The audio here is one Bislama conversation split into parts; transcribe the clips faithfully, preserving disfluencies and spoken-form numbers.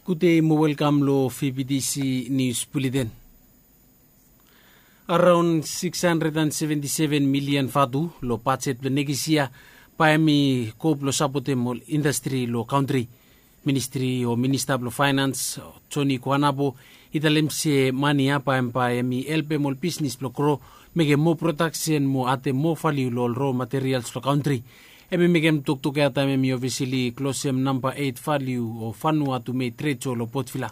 Gudei mo welkam lo V B T C Nius Buleten. Araon six hundred and seventy seven milian vatu lo bajet blo nekis yia bae hemi go blo sapotem ol indastri lo kantri. Ministri o minista blo faenans, Joni Kuanapo, i talem se mane ya bae hemi helpem ol bisnis blo gro, mekem moa prodaksen mo adem moa valiu lo ol ro materials lo kantri. Hemi mekem toktok ya taem hemi ofisili klosem namba eit valiu o Vanuatu Mei Tred Sho lo Port Vila.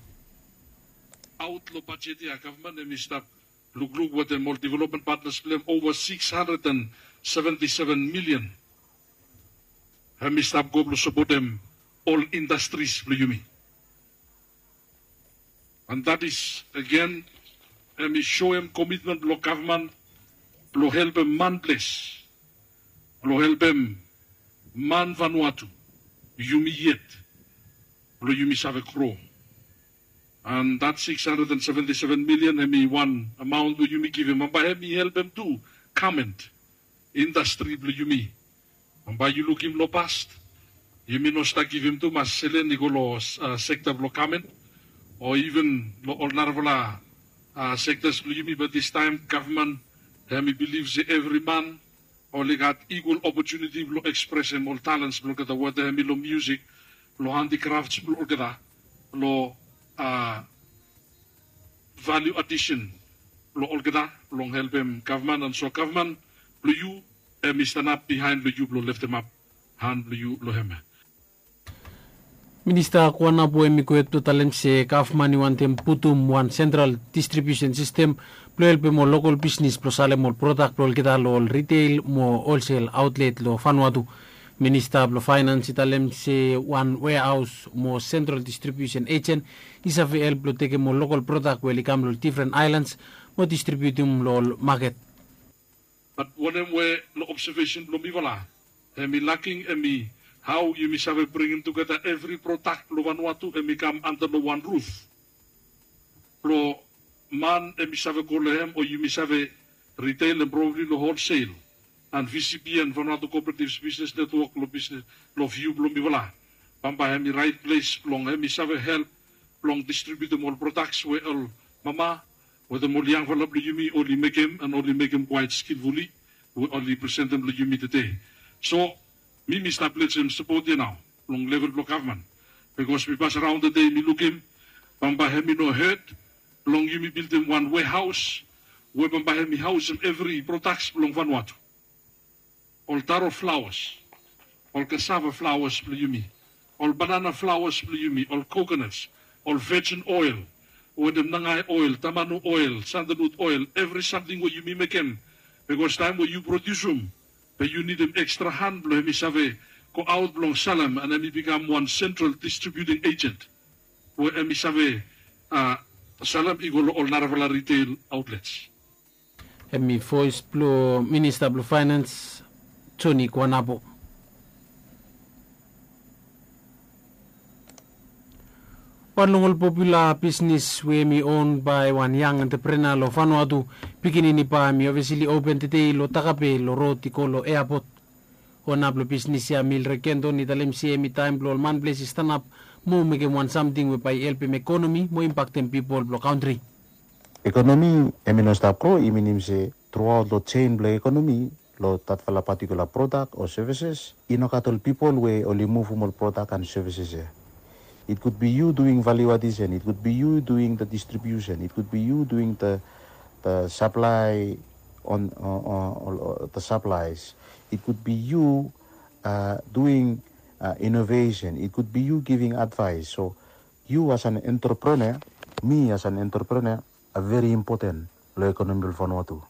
Aot lo bajet ya gavman hemi stap lukluk wetem ol development partners blo hem ova six hundred and seventy seven milian. Hemi stap go blo sapotem ol indastris blo yumi. And that is again, hemi soem komitmen blo gavman blo helpem manples, blo helpem man Vanuatu, yumi yet, blo yumi save gro. And that six hundred and seventy seven milian hemi wan amaon we yumi givim, bambae hemi helpem tu gament, indastri blo yumi. Bambae yu lukim lo past, yumi no stap givim tumas selen i go lo sekta blo gament o iven lo ol narafala sektas blo yumi, bat distaem gavman hemi bilif se evri man oli gat ikwal opotuniti blo ekspresem ol talens blo olgeta, weta hemi lo miusik, lo handikrafts blo olgeta, lo valiu adisen blo olgeta, blong helpem gavman. And so gavman blo yu hemi stanap bihaen blo yu blo leftemap han blo yu lo hem. Minista Kuanapo hemi go hed blo talem se gavman i wantem putum wan sentral distribiusen sistem blo helpem ol lokol bisnis blo salem ol prodak blo olgeta lo ol riteil mo holsel aotlet lo Vanuatu. Minista blo faenans i talem se wan wehaos mo sentral distribiusen ejen i save help blo tekem ol lokol prodak we oli kam lo difren aelans mo distribiutum lo ol maket. Bat wanem we lo obsevesen blo mifala hemi laking, hemi hao yumi save bringim tugeta evri prodak blo Vanuatu hemi kam anta lo wan ruf, blo man hemi save go lo hem o yumi save riteil and probably lo holsel. And V C B and Vanuatu Cooperatives Business Network lo bisnes, lo viu blo mifala, bambae hemi raet ples blong hemi save help blong distribiutum ol prodaks we ol mama wetem ol yangfala blo yumi oli mekem, and oli mekem kwaet skilfuli, we oli presentem lo yumi tede. So mi, mi stap lejem sapot ya nao long level blo gavman, bikos mi pasaraon tede, mi lukim bambae hemi no hed blong yumi bildim wan wehaos we bambae hemi haosem evri prodaks blong Vanuatu. Ol taro flaoas, ol kasava flaoas blo yumi, ol banana flaoas blo yumi, ol kokonas, ol vejin oel, wetem nangae oel, tamanu oel, sandelnut oel, evri samting we yumi mekem. Bikos taem we yu prodiusum, be yu nidim ekstra han blo hemi save goaot blong salem, and hemi bikam wan sentral distribiuting ejen we hemi save salem i go lo ol narafala riteil aotlets. Hemi voes blo minista blo faenans, Joni Kuanapo. Wan long ol popula bisnis we hemi on bae wan yang entreprenea lo Vanuatu, pikinini ba, hemi ofisili open tede lo Takape lo rod i go lo eapot. Ona blo bisnis ya, Mildred Kenton, i talem se hemi taem blo ol manples i stanap mo mekem wan samting we bae i helpem ekonomi mo impaktem pipol blo kantri. Ekonomi hemi no stap gro, i minim se truaot lo jein blo ekonomi, lo datfala patikula prodak o sevises, i no gat ol pipol we oli muvum ol prodak and sevises ya. It could be you doing value addition, it could be you doing the distribution, it could be you doing the, the supply on, uh, uh, the supplies, it could be you uh, doing uh, innovation, it could be you giving advice. So you as an entrepreneur, me as an entrepreneur, are very important lo ekonomi blo Vanuatu.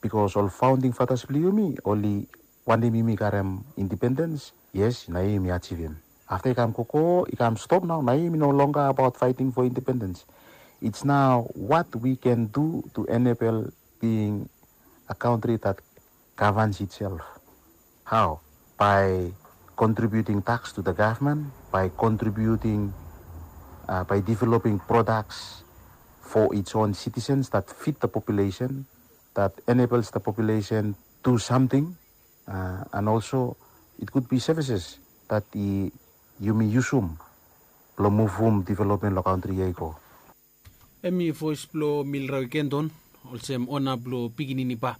Bikos ol founding fathers blo yumi oli wantem yumi karem independens, yes, nao yumi ajivim. Afta i kam gogo, i kam stop nao, nao yumi no longer about fighting for independence. It's now what we can do to enable being a country that governs itself. How? By contributing tax to the government, by contributing, uh, by developing products for its own citizens that fit the population, that enables the population do something, uh, and also it could be services that i, yumi yusum Blong muvum development long kantri ya i go. Em i voes blong Milrawe Kenton, olsem ona blong pikinini pa.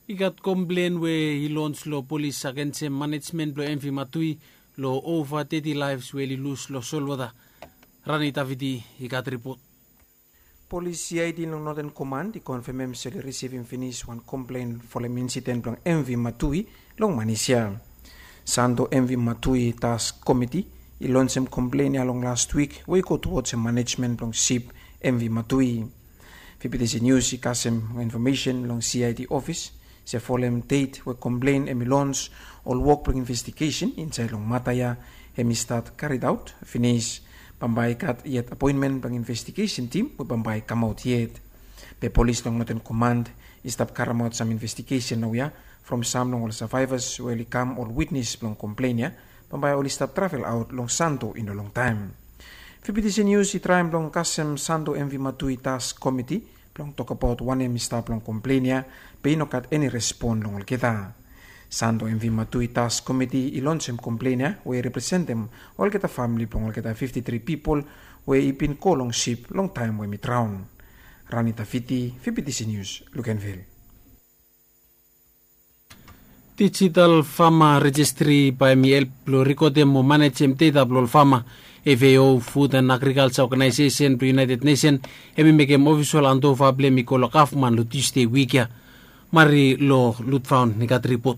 I gat komplen we i lons long polis agensem manejmen blong M V Matui long ova teti laefs we oli lus long solwota. Rani Taviti i gat ripot. Polis C I D long Northern Command i konfemem se oli risivim finis wan komplen folem insiden blong M V Matui long Manis ya. Santo M V Matui Task Komiti i lonsem komplen ya long last wik we i go tuwods manejmen blong sip M V Matui. Fifty Cent News i kasem infomesen long C I D ofis se folem det we komplen hem i lons, ol wok blong investigesen insaed long mata ya hem i stat karidaot finis. Bambae i gat yet apoenmen blong investigesen tim we bambae i kamaot yet. Be polis long Northern Command i stap karemaot sam investigesen naoia from sam long ol savaevas we oli kam ol witnes blong komplen ya. Bambae oli stap travel aot long Santo i no longtaem. Fifty Cent News i traem blong kasem Santo M V Matui Task Komiti blong tokbaot wanem i stap long komplen ya, be i no gat eni respon long olgeta. Santo M V Matui Task Komiti i lonsem komplen ya we i representem olgeta famili blong olgeta fifti tri pipol we i bin go long sip long taem we hem i draon. Rani Taviti, Fifty Cent News, Lukenvil. Digital Farmer Registry bae hem i help blong rikodem mo manejem deta blong ol fama. F A O, Food and Agriculture Organization blong United Nation, hem i mekem ofisol andova blong hem i go long gavman long Tusde wik ya. Mari long Lutfaon i gat ripot.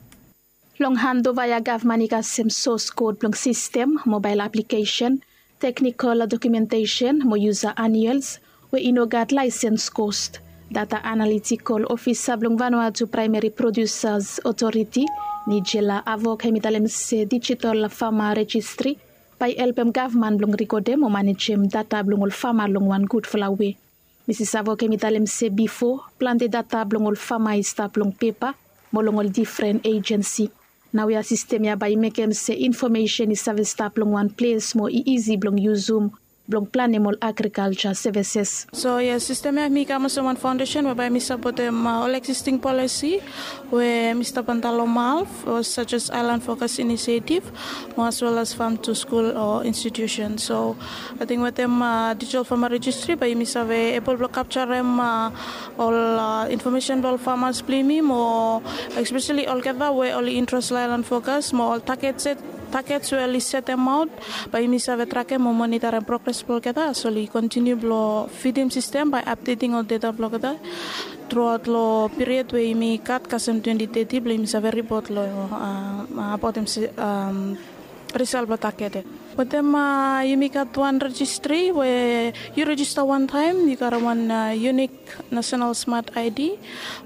Long andova ya gavman i kasem sos kod blong sistem, mobael aplikesen, teknikol dokumentesen mo yusa aniels we i no gat laesens kost. Data analitikol ofisa blong Vanuatu Praemeri Produsas Otoriti, Nigela Avok, hem i talem se digital fama rejistri bae i helpem gavman blong rikodem o manejem data blong ol fama long wan gudfala we. Misis Avok hem i talem se bifo, plante data blong ol fama i stap long pepa mo long ol difren ejensi. Naoia sistem ya bae i mekem se infomesen i save stap long wan ples mo i isi blong yusum blong planem ol agrikalja sevises. So yes, sistem ya hem i kam olsem wan faondesen we bae hem i sapotem ol eksisting polisi we hem i stap antap long MALF, sajes Aelan Fokas Inisietiv, mo as wel as Fam tu Skul o Institusen. So ating wetem dijital fama rejistri bae yumi save ebol blong kapjarem ol infomesen blong ol famas blong yumi mo espeseli olgeta we oli intres long Aelan Fokas mo ol taget set, tagets we oli setemaot, bae yumi save trakem mo monitarem progres blong olgeta as oli kontiniu blong fidim sistem bae apdeting ol deta blong olgeta truaot long piriod we yumi gat kasem twenti teti blong yumi save ripot long abaotem risal blong taget ya. Wetem yumi gat wan rejistri we yu rejista wantaem yu gat wan yunik nasenal smat ID,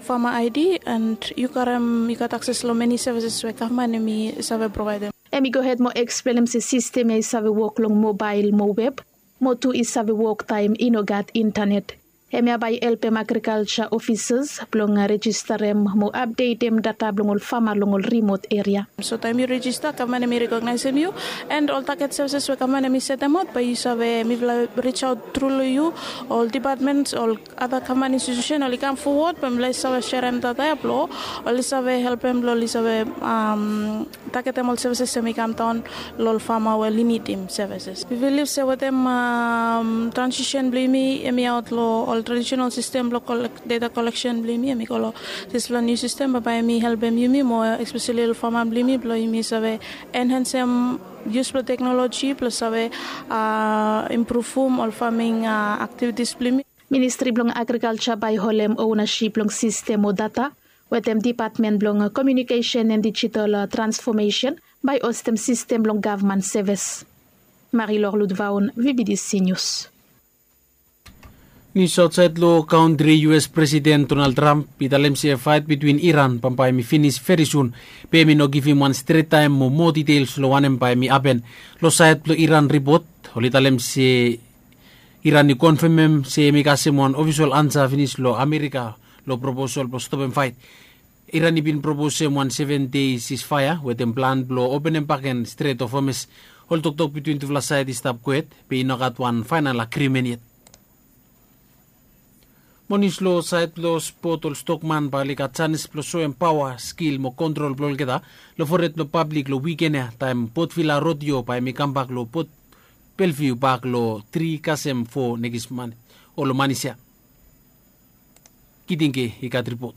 fama ID, and yu gat akses long meni sevises we gavman hem i save provaedem. Hem i gohed mo eksplenem se sistem ya i save wok long mobael mo web mo tu i save wok taem i no gat intanet. Hemia bae i helpem agrikalja ofisas blong rejistarem mo apdetem data blong ol fama long ol rimot eria. So taem yu rejista, gavman hem i rekognaesem yu, and ol taget sevises we gavman hem i setemaot bae yu save, mifala rijaot tru long yu, ol dipatmens, ol ada gavman institusen oli kam fowod bae mifala i save serem data ya blong oli save helpem blong oli save tagetem ol sevises hem i kam daon long ol fama we oli nidim sevises. Mi bilif se wetem transisen blong yumi hem i aot long ol tradisional sistem blong data koleksen blong yumi hem i go long dispela niu sistem, bambae hem i helpem yumi moa, espeseli ol fama blong yumi blong yumi save enhensem yus blong teknoloji blong save impruvum ol faming aktivitis blong yumi. Ministri blong Agrikalja bae i holem onasip long sistem o data wetem Dipatmen blong Komiunikesen and Dijital Transfomesen bae i hostem sistem blong gavman sevis. Marilor Ludvaon, VBDC Nius. Nius aotsaed long kantri, US Presiden Donald Trump i talem se faet bitwin Iran bambae hem i finis veri sun, be hem i no givim wan stret taem mo moa ditels long wanem bae hem i hapen. Long saed blong Iran ripot oli talem se Iran i konfemem se hem i kasem wan ofisol ansa finis long Amerika long proposal blong stopem faet. Iran i bin proposem wan seven dei sisfaea wetem plan blong openem bakegen Stret of Hormuz. Ol toktok bitwin tufala saed i stap kwet, be i no gat wan faenal agrimen yet. Onis long saed blong spot, ol stokman bae oli gat janis blong soem paoa, skil mo kontrol blong olgeta long fored blong pablik long wiken ya, taem Potvila Rodeo bae hemi kambak long Port Belviu bak long tri kasem fo nekis man o long manis ya. Kitinke i gat ripot.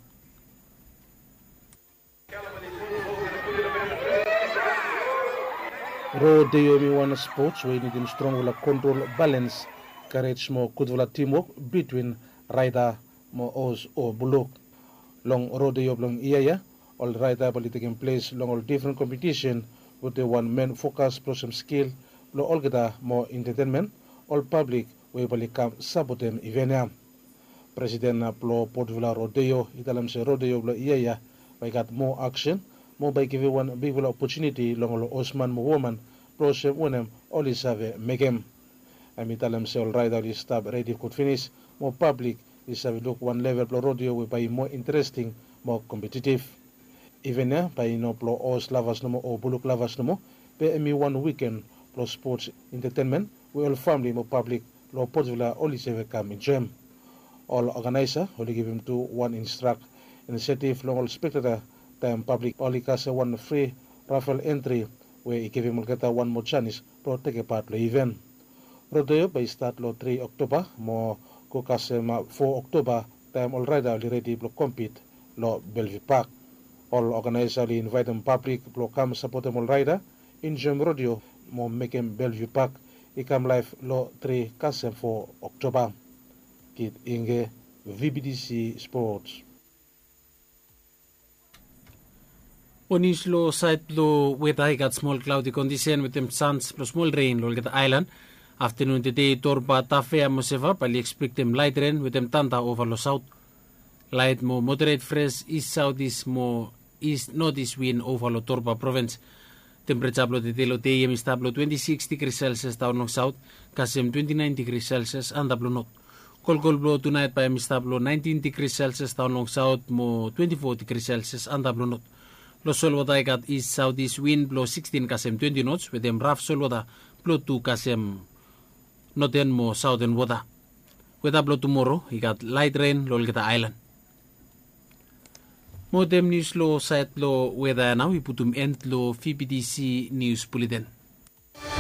Rodeo hemi wan spots we i nidim strongfala kontrol, balens, karej mo gudfala timwok bitwin raeda mo os o buluk. Long rodeo blong yia ya, ol raeda bae oli tekem ples long ol difren kompetisen wetem wan men fokas blong olsem skil blong olgeta mo entetenmen ol pablik we bae oli kam sapotem iven ya. Presiden blong Potvila Rodeo i talem se rodeo blong yia ya bae i gat moa aksen mo bae i givim wan bigfala opotuniti long ol osman mo woman blong olsem wanem oli save mekem. Hem i talem se ol raeda oli stap redi gud finis mo pablik i save luk wan level blong rodeo we bae i moa interesting mo kompetitiv. Iven ya bae i no blong os lavas nomo o buluk lavas nomo, be hemi wan wiken blong spots, entetenmen we ol famle mo pablik long Potvila oli save kam enjoem. Ol oganaesa oli givim tu wan instrak insetiv long ol spekteta taem pablik oli kasem wan fri rafel entri we i givim olgeta wan moa janis blong tekem pat long iven. Rodeo bae i stat long tri Oktoba mo go kasem fo Oktoba taem ol raeda oli redi blong kompit long Belviu Pak. Ol oganaesa oli invaetem pablik blong kam sapotem ol raeda, enjoem rodeo mo mekem Belviu Pak i kam laef long tri kasem fo Oktoba. Kit Inge, V B T C Sports. Ol nius long saed blong weta, i gat smol klaodi kondisen wetem sans blong smol ren long olgeta aelan. Aftenun tede Torba, Tafea mo Seva bae oli ekspektem laet ren wetem tanda ova long saot. Laet mo moderet fres is saotis mo is notis win ova long Torba provins. Tempereja blong tede long dei hem i stap long twenti sikis digri selsias daon long saot kasem twenti naen digri selsias antap long not. Kolkol blong tunaet bae hem i stap long naentin digri selsias daon long saot mo twenti fo digri selsias antap long not. Long solwota i gat is saotis win blong sikstin kasem twenti nots wetem raf solwota blong tu kasem noten mo saoten wota. Weta blong tumoro i gat laet ren long olgeta aelan. Mo wetem nius long saed blong weta ya nao i putum en long V B T C Nius Buleten.